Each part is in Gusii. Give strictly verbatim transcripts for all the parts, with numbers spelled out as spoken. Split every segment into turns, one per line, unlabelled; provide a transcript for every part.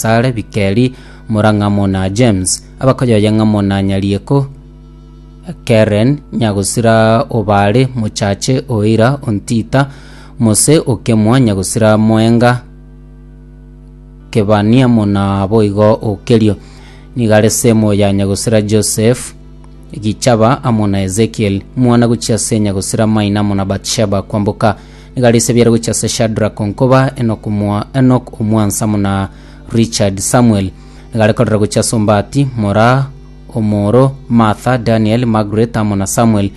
Sare Bikeri Morang'amo na James abakoyoye ng'amo na Nyarieko Keren Nyagosira Obare Mochache Oira Ontita Mose Okemwa Nyagosira Moenga Kebania mona boigo Okerio nigo are semo ya Nyagosira Joseph Gichaba amo na Ezekiel mwana gochia ase Nyagosira Maina amo na Batsheba Kwamboka nigo are ise gochia ase Shadrack Onkoba Enoch Omwa Enoch Omwansa amo na Richard Samuel nigo are korera gochia ase Ombati Mora Omoro Martha Daniel Margaret amo na Samuel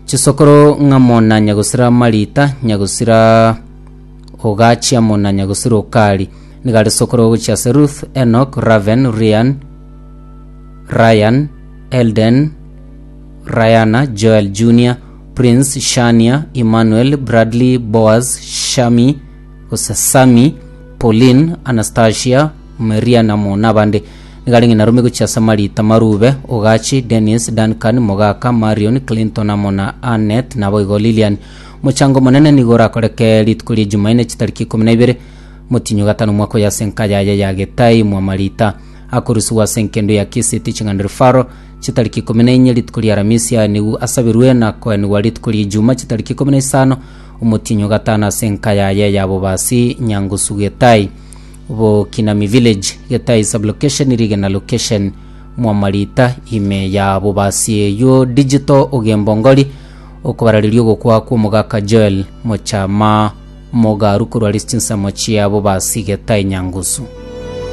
chisokoro ng'amo na Nyagosira Marita Nyagosira Ogachi amo na Nyagosira Okari nigo are sokoro gochia ase Ruth Enoch Raven Rian Ryan Elden Rayana Joel Junior Prince Shania Emmanuel Bradley Boaz Shami gose Sami Pauline Anastasia Maria namo nabande nigo arenge narume gochia ase Marita Marube Ogachi Dennis Duncan Mogaka Marion Clinton amo na Annette naboigo Lilian mochango monene nigo orakoreke rituko ria Jumanne chitariki ikomi na ibere motinyo gatano mwaka oyo ase enka yaye ya Getai mwa Marita akorusiwa ase enkendo ya Kisii Teaching and Referral chitariki ikomi na inye rituko ria Aramisi nigo asabirwe na koenigwa rituko ria Ijuma chitariki ikomi na isano omotinyo gatano ase enka yaye ya Bobasi Nyangusu Getai Bokinami Village Getai sublocation Rigena location mwa Marita ime ya Bobasi eyo digital ogembongori okobarareria ogokwa kwa omogaka Joel Mochama Mogaru korwa ase chinsemo chia Bobasi Getai Nyangusu.